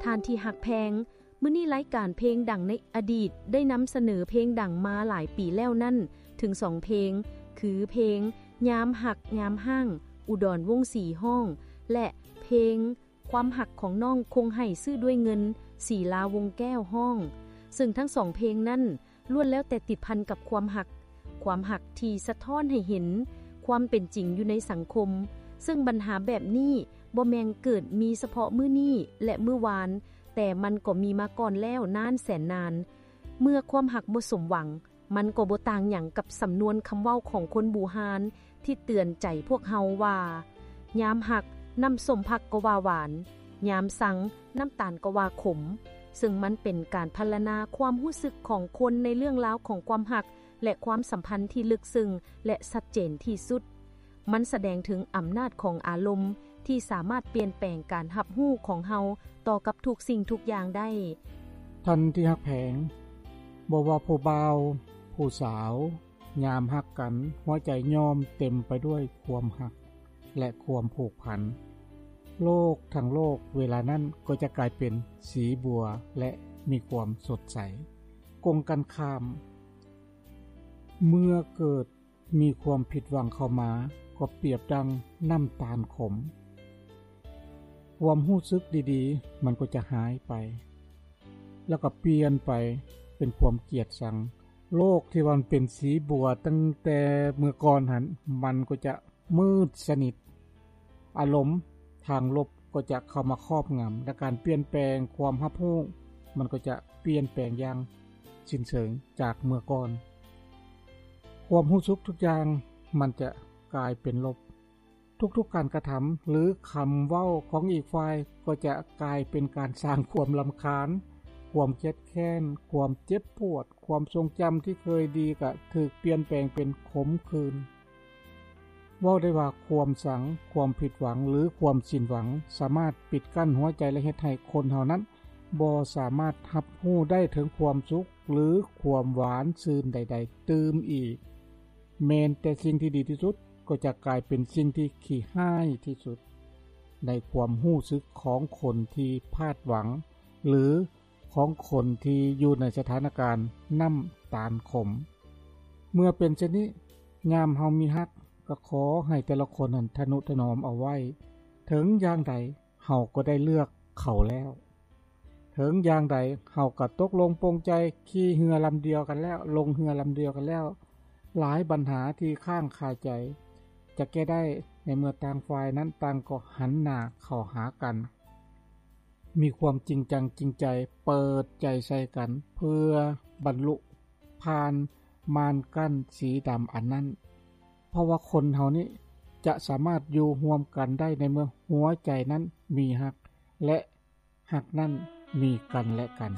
ທ່ານທີ່ຮັກແພງ, ມື້ນີ້ລາຍການເພງດັງໃນອະດີດໄດ້ນຳສະເໜີເພງດັງມາຫຼາຍປີແລ້ວນັ້ນເຖິງສອງເພງ ຄືເພງ ຍາມຮັກຍາມຮ້າງ ອຸດອນ ວົງສີ ຮ້ອງ ແລະ ເພງ ຄວາມຮັກຂອງນ້ອງຄົງໃຫ້ຊື້ດ້ວຍເງິນ ສີລາ ວົງແກ້ວ ຮ້ອງ, ເຊິ່ງທັງສອງເພງນັ້ນ ລ້ວນແລ້ວແຕ່ຕິດພັນກັບຄວາມຮັກ, ຄວາມຮັກທີ່ສະທ້ອນໃຫ້ເຫັນຄວາມເປັນຈິງຢູ່ໃນສັງຄົມ, ເຊິ່ງບັນຫາແບບນີ້ບໍ່ແມ່ນເກີດມີສະເພາະມື້ນີ້ ແລະ ມື້ວານ, ແຕ່ມັນກໍມີມາກ່ອນແລ້ວນານແສນນານ. ເມື່ອຄວາມຮັກບໍ່ສົມຫວັງ, ມັນກໍບໍ່ຕ່າງຫຍັງກັບສຳນວນຄຳເວົ້າຂອງຄົນບູຮານທີ່ເຕືອນໃຈພວກເຮົາວ່າ, ຍາມຮັກ, ນ້ຳສົ້ມຜັກກໍວ່າຫວານ, ຍາມຊັງ, ນ້ຳຕານກໍວ່າຂົມ, ເຊິ່ງມັນເປັນການພັນລະນາຄວາມຮູ້ສຶກຂອງຄົນໃນເລື່ອງລາວຂອງຄວາມຮັກ ແລະ ຄວາມສຳພັນທີ່ເລິກເຊິ່ງ ແລະ ຊັດເຈນທີ່ສຸດ. ມັນສະແດງເຖິງອຳນາດຂອງອາລົມທີ່ສາມາດປ່ຽນແປງການຮັບຮູ້ຂອງເຮົາຕໍ່ກັບທຸກສິ່ງທຸກຢ່າງໄດ້. ທ່ານທີ່ຮັກແພງ, ບໍ່ວ່າຜູ້ບ່າວ, ຜູ້ສາວ, ຍາມຮັກກັນ, ຫົວໃຈຍ່ອມເຕັມໄປດ້ວຍຄວາມຮັກ ແລະ ຄວາມຜູກພັນ. ໂລກທັງໂລກເວລານັ້ນກໍຈະກາຍເປັນສີບົວ ແລະ ມີຄວາມສົດໃສ. ກົງກັນຂ້າມ, ເມື່ອເກີດມີຄວາມຜິດຫວັງເຂົ້າມາ, ກໍປຽບດັ່ງນ້ຳຕານຂົມ. ຄວາມຮູ້ສຶກດີໆ ມັນກໍຈະຫາຍໄປ ແລ້ວກໍປ່ຽນໄປເປັນຄວາມກຽດຊັງ. ໂລກທີ່ວ່າມັນເປັນສີບົວຕັ້ງແຕ່ເມື່ອກ່ອນຫັ້ນ, ມັນກໍຈະມືດສະໜິດ. ອາລົມທາງລົບກໍຈະເຂົ້າມາຄອບງຳ, ແລະ ການປ່ຽນແປງຄວາມຮັບຮູ້ ມັນກໍຈະປ່ຽນແປງຢ່າງສິ້ນເຊີງຈາກເມື່ອກ່ອນ. ຄວາມຮູ້ສຶກທຸກຢ່າງມັນຈະກາຍເປັນລົບ. ທຸກໆການກະທຳ ຫຼື ຄຳເວົ້າຂອງອີກຝ່າຍ ກໍຈະກາຍເປັນການສ້າງຄວາມລຳຄານ, ຄວາມຄຽດແຄ້ນ, ຄວາມເຈັບປວດ, ຄວາມຊົງຈຳທີ່ເຄີຍດີກໍຖືກປ່ຽນແປງເປັນຂົມຂື່ນ. ເວົ້າໄດ້ວ່າຄວາມຊັງ, ຄວາມຜິດຫວັງ ຫຼື ຄວາມສິ້ນຫວັງ ສາມາດປິດກັ້ນຫົວໃຈ ແລະ ເຮັດໃຫ້ຄົນເຮົານັ້ນບໍ່ສາມາດຮັບຮູ້ໄດ້ເຖິງຄວາມສຸກ ຫຼື ຄວາມຫວານຊື່ນໃດໆຕື່ມອີກ. ແມ່ນແຕ່ສິ່ງທີ່ດີທີ່ສຸດກໍຈະກາຍເປັນສິ່ງທີ່ຂີ້ຮ້າຍທີ່ສຸດ ໃນຄວາມຮູ້ສຶກຂອງຄົນທີ່ພາດຫວັງ ຫຼື ຂອງຄົນທີ່ຢູ່ໃນສະຖານະການນ້ຳຕານຂົມ. ເມື່ອເປັນເຊັ່ນນີ້, ຍາມເຮົາມີຮັກ, ກໍຂໍໃຫ້ແຕ່ລະຄົນນັ້ນທະນຸຖະໜອມເອົາໄວ້. ເຖິງຢ່າງໃດ, ເຮົາກໍໄດ້ເລືອກເຂົາແລ້ວ. ເຖິງຢ່າງໃດເຮົາກໍຕົກລົງປົງໃຈຂີ່ເຮືອລຳດຽວກັນແລ້ວ, ລົງເຮືອລຳດຽວກັນແລ້ວ. ຫຼາຍບັນຫາທີ່ຄ້າງຄາໃຈຈະແກ້ໄດ້ໃນເມື່ອຕ່າງຝ່າຍນັ້ນຕ່າງກໍຫັນໜ້າເຂົ້າຫາກັນ, ມີຄວາມຈິງຈັງຈິງໃຈ, ເປີດໃຈໃສ່ກັນ ເພື່ອບັນລຸຜ່ານມ່ານກັ້ນສີດຳອັນນັ້ນ. ເພາະວ່າຄົນເຮົານີ້ຈະສາມາດຢູ່ຮ່ວມກັນໄດ້ໃນເມື່ອຫົວໃຈນັ້ນມີຮັກ ແລະ ຮັກນັ້ນມີກັນແລະກັນ.